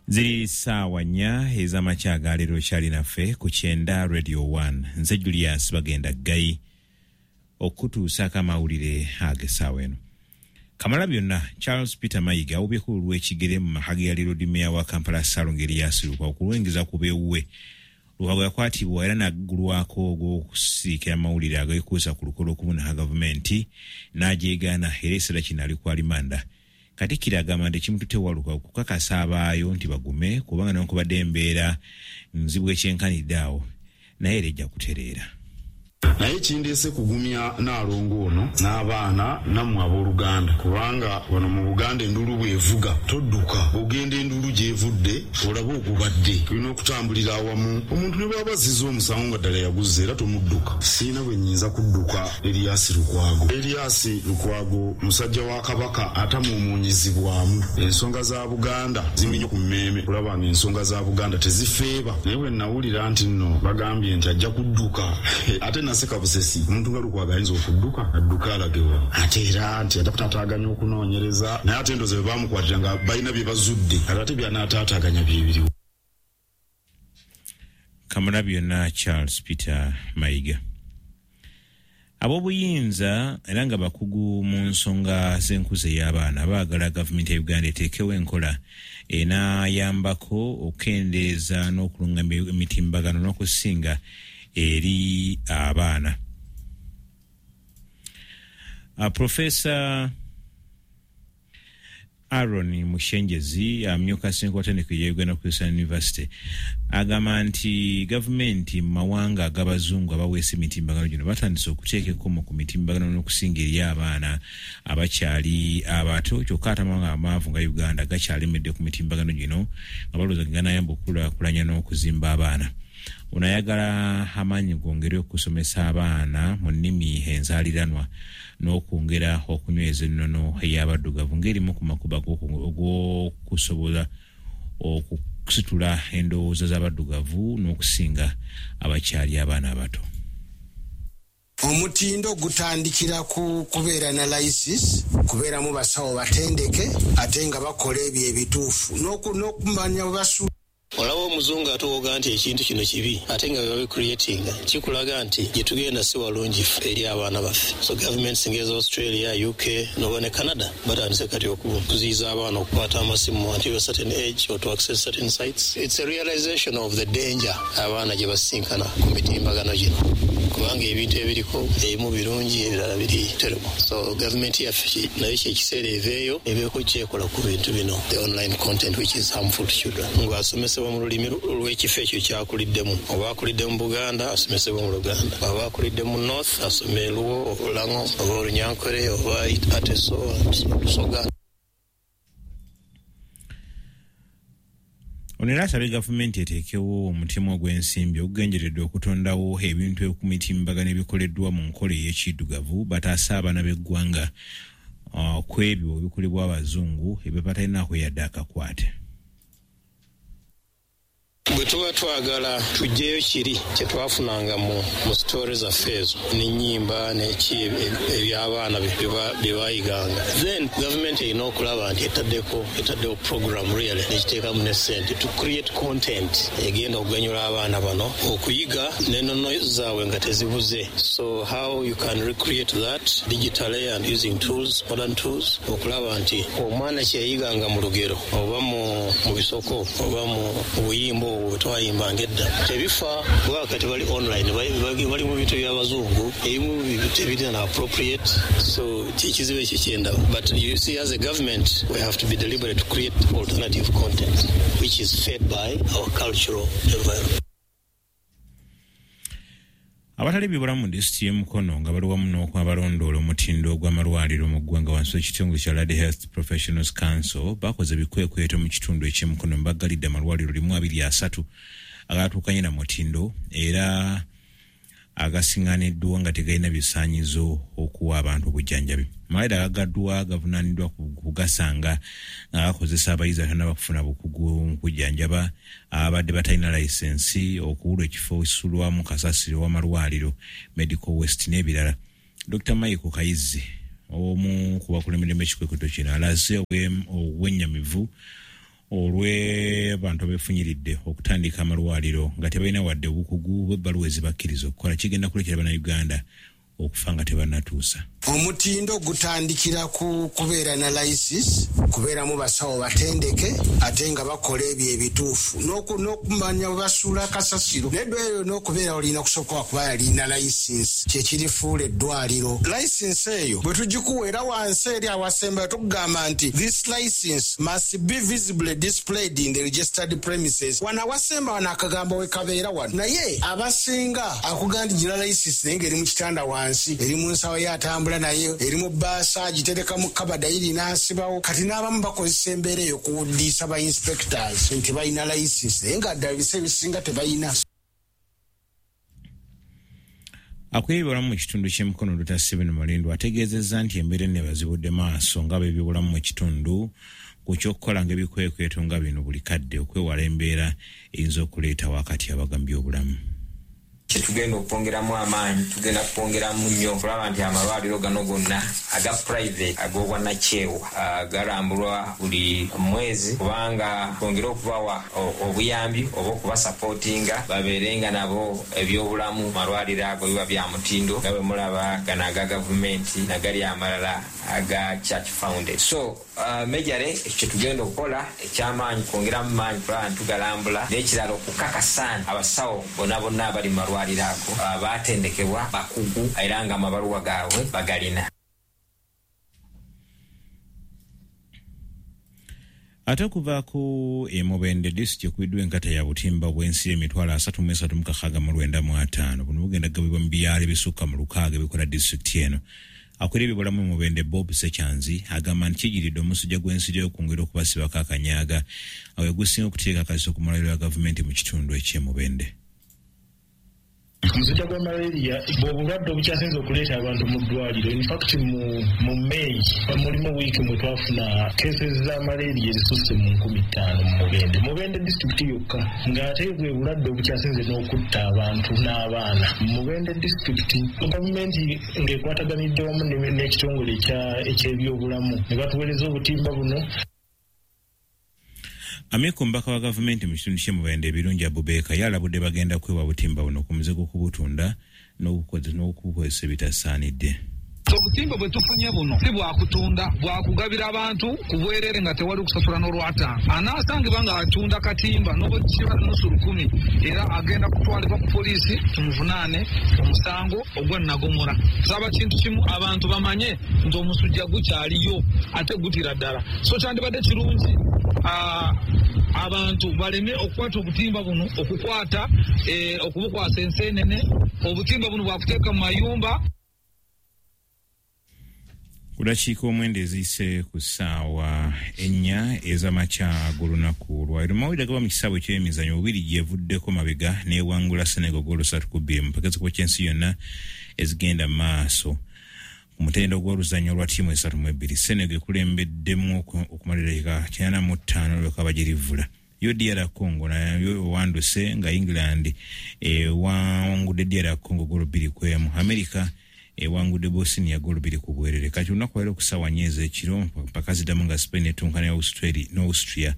Ziri ssaawa 4 ez'amakya agaleero kyalinaffe ku 90 Radio 1. Nze Julius Bagenda Ggayi okutuusaako amawulire ag'essaawa eno. Kamala byonna Charles Peter Mayiga awubyeko olw'ekigere mu maka ge yali Lord Mayor wa Kampala Ssalongo Erias Lukwago okulwengeza ku beewuwe. Lukwago yakwatibwa era n'aggulwako ogw'okusiikira amawulire ageekuusa ku lukolo okubuna gavumenti n'agyegaana era ekiseera kino ali ku alimanda. Katikkiro agamba nti ekimututte wa Lukwago kukakasa abaayo nti bagume kubanga newankubadde embeera nzibu ekyenkanidde awo naye era ejja kutereera. Naye kindeese kugumya Nnaalongo ono n'abaana nammwe abooluganda kubanga wano mu Buganda enduulu bw'evuga todduka, ogenda enduulu gy'evudde olabe ogubadde. Tulina okutambulira awamu, omuntu ne bw'aba azzizza omusango nga ddala yaguzza era tomudduka. Sirina bwe nnyinza kudduka Erias Lukwago. Erias Lukwago musajja wa Kabaka atamuumuunyizibwamu. Ensonga za Buganda zimuli nnyo ku mmeeme okulaba ng'ensonga za Buganda tezifeeba. Naye bwe nnawulira nti nno bagambye nti ajja kudduka ate naseka busesi, omuntu nga Lukwago ayinza okudduka? Adduke alage wa? Ate era nti ajja kutaataaganya okunoonyereza, naye ate ndowooza bwe baamukwatira nga balina bye bazudde, kati ate by'anaataataaganya bye biriwa? Kamalabyonna Charles Peter Mayiga. Ab'obuyinza era nga bakugu mu nsonga z'enkuza ey'abaana baagala gavumenti ya Uganda eteekewo enkola enaayambako okukendeeza n'okulungamya emitimbagano n'okusinga eri abaana. Professor Aaron Mushengyezi amyuka ssentebe wa ttendekero lya Uganda Christian University agamba nti gavumenti mu mawanga ag'abazungu abaweesa emitimbagano gino batandise okuteeka ekkomo ku mitimbagano n'okusinga eri abaana abakyali abato, kyokka ate amawanga amaavu nga Uganda gakyalemedde ku mitimbagano gino nga balowooza ge ganaayamba okukulaakulanya n'okuzimba abaana. Ono ayagala amaanyi gongere okusomesa abaana mu nnimi enzaaliranwa n'okwongera okunyweza ennono ey'abaddugavu ng'erimu ku makubo ag'okusobola okusitula endowooza z'abaddugavu n'okusinga abakyali abaana abato. Omutindo gutandikira ku kubeera na license, kubeeramu basawo batendeke ate nga bakola ebyo ebituufu n'okumanya bwe basuula. Olaba omuzungu atuwoga nti ekintu kino kibi ate nga bwe babicreatinga kikulaga nti gye tugenda si walungi ffe eri abaana baffe. So governments ng'eza Australia, UK n'oba ne Canada batandise kati okuziyiza abaana okukwata amasimu until a certain age or to access certain sites. It's a realization of the danger abaana gye basisinkana ku mitimbagano gino kubanga ebintu ebiriko ebimu birungi ebirala biri terrible. So government yaffe nayo kye kiseera eveeyo ebeeko kyekola ku bintu bino, the online content which is harmful to children. Ng'asomesebwa mu lulimi lw'ekifo ekyo ky'akuliddemu. Oba akulidde mu Buganda asomesebwe mu Luganda, oba akulidde mu North asome Luo, Olango oba Olunyankore oba Ateso, Lusoga. Ono era asabye gavumenti eteekewo omutemwa ogw'ensimbi ogugenderedde okutondawo ebintu ku mitimbagano ebikoleddwa mu nkola ey'ekiddugavu bataase abaana b'eggwanga ku ebyo ebikolebwa abazungu ebyo batalinaako yadde akakwate. Bwe tuba twagala tuggyeyo kiri kye twafunanga mu story zaffe ezo n'ennyimba n'eki eby'abaana bye baayiganga, then gavumenti erina okulaba nti etaddewo program really n'ekiteekamu ne ssente to create content egenda okuganyula abaana bano okuyiga n'ennono zaabwe nga tezibuze. So how you can recreate that digitally and using tools, modern tools, okulaba nti omwana kye yayiganga mu lugero oba mu bisoko oba mu buyimba obwo bwe twayimbanga edda tebifa, kuba kati bali online, bali mu bintu by'abazungu ebimu tebirina na appropriate. So ekizibu ekyo kyendaba, but you see, as a government we have to be deliberate to create alternative content which is fed by our cultural environment. Abatali bibulamu mu disitulikiti y'e Mukono nga bali wamu n'abalondoola omutindo gw'amalwaliro mu ggwanga wansi w'ekitongole kya Allied Health Professionals Council bakoze ebikwekweto mu kitundu eky'e Mukono, baggalidde amalwaliro 123 agatuukanye na mutindo era agasiŋŋaniddwa nga tegalina bisaanyizo okuwa abantu obujjanjabi. Amalwaliro agaggaddwa gavunaaniddwa kugasanga nga gakozesa abayizi abatannaba kufuna bukugu mu kujjanjaba, ababadde batalina layisensi, okubulwa ekifo ekisulwamu kasasiro w'amalwaliro, medical waste n'ebirala. Dr Michael Kayizi, omu ku bakulemberemu ekikwekweto kino, alaze obwennyamivu. Olw'abantu abeefunyiridde okutandika amalwaliro nga tebalina wadde obukugu bw'ebbaluwa ezibakkiriza okukola, kigenda kuleetera Bannayuganda okufa nga tebannatuusa. Omutindo gutandikira ku kubeera na layisinsi, kubeeramu basawo batendeke ate nga bakola ebyo ebituufu, n'okumanya bwe basuula kasasiro. N'eddwaliro n'okubeera olina kusooka kuba yalina layisinsi, kyekirifuula eddwaliro. Layisinsi eyo bwe tugikuwa era wansi eri awasembayo tukugamba nti this license must be visibly displayed in the registered premises. Wano awasemba wano akagambo we kabeera wano, naye abasinga akugamba nti gira layisinsi naye ng'eri mu kitanda wansi, eri mu nsawo ye atambula naye, eri mu bbaasa agitereka mu kabada iri n'asibawo. Kati n'abamu bakozesa embeera eyo okuwuddiisa ba inspectors nti balina layisinsi naye nga ddala ebisa ebisinga tebalina. Akulira ebyobulamu mu kitundu ky'e Mukono, Dr. Stephen Mulindwa, ategeezezza nti embeera eno ebazibudde maaso nga ab'ebyobulamu mu kitundu ku ky'okukola ng'ebikwekweto nga bino buli kadde okwewala embeera eyinza okuleetawo akatyabaga mu byobulamu. Kyetugenda okwongeramu amaanyi, tugenda kwongeramu nnyo okulaba nti amalwaliro gano gonna aga private ag'obwannakyewa galambulwa buli mwezi, kubanga twongere okubawa obuyambi oba okubasapootinga babeere nga nabo ebyobulamu malwaliro ago biba bya mutindo nga bwe mulaba gano aga gavumenti nagali amalala aga church founded. So majorly ekyo kyetugenda okukola ekyamaanyi, kwongeramu maanyi kulaba nti tugalambula, n'ekirala okukakasa nti abasawo bonna bonna abali mu malwaliro ago batendekebwa, bakugu, era nga amabaluwa gaabwe bagalina. Ate okuva ku e Mubende disitulikiti ekubiddwa enkata ya butimba bw'ensi 336,995. Buno bugenda kugabibwa mu byalo ebisukka mu 6 ebikola disitulikiti eno. Akulira ebyobulamu e Mubende, Bob Sekyanzi, agamba nti kijiridde omusujja gw'ensiri okwongera okubasibako akanyaaga awe gusinga okuteeka akaziso ku malwaliro ga gavumenti mu kitundu eky'e Mubende. Omusujja gwa malaria bw'obulwadde obukyasinze okuleeta abantu mu ddwaliro. Infact mu May mulimu wiiki mwe twafuna cases za malaria ezisusse mu 5,000 mu Mubende disitulikiti yokka, ng'ate bwe bulwadde obukyasinze n'okutta abantu n'abaana mu Mubende disitulikiti. Gavumenti ng'ekwataganidde wamu n'ekitongole eky'ebyobulamu ne batuweereza obutimba buno. Amyuka omubaka wa gavumenti mu kitundu ky'e Mubende, Ebirungi Abubeeka, yalabudde bagenda kwewa butimba buno ku muze gw'okubutunda n'okubukozesa ebitasaanidde. Obutimba bwe tufunye buno si bwakutunda, bwakugabira abantu ku bwerere nga tewali kusasula n'olwataano. Anaasangibwa ng'atunda katimba n'obukiba nusu 1,000, era agenda kutwalibwa ku poliisi tumuvunaane omusango ogwa nagomora. Saba kintu kimu, abantu bamanye nti omusujja gukyaliyo ate gutira ddala, so kyandibadde kirungi abantu baleme okukwata obutimba buno, okukwata okubukwasa ensenene. Obutimba buno bwakuteeka mu mayumba. Ku dakiika 9 eziyise ku ssaawa 4 ez'amakya g'olunaku lwaleero, mawulire gaba mu kisaawe eky'emizannyo, bubiri gyevuddeko mabega n'ewangula Senegal goolo 3-2 mu mpaka z'ekikopo ky'ensi yonna ezigenda mu maaso ku mutendera gw'oluzannya olwa ttiimu 32. Senegal ekulembeddemu okumala eddakiika 95 lweka bagirivula. Yo DR Congo nayo ewanduse nga England ewangudde DR Congo goolo 2-1. America ewangudde Bosnia goolo 2-0. Kati olunaku lwaleero ku ssaawa 4 ez'ekiro mpaka ziddamu nga Spain etunka ne Austria,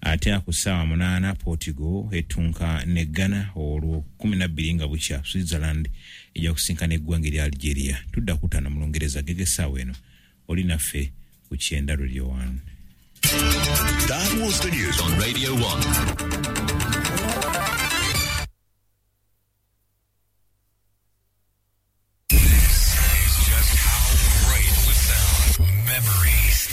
ate ku ssaawa 8 Portugal etunka ne Ghana. Olwo 12 nga bukya Switzerland ejja kusinkana eggwanga erya Algeria. Tudda kutaano mu Lungereza gege. Essaawa eno oli naffe ku Kyenda Radio 1. That was the news on Radio 1. This is just how great it would sound. Memories.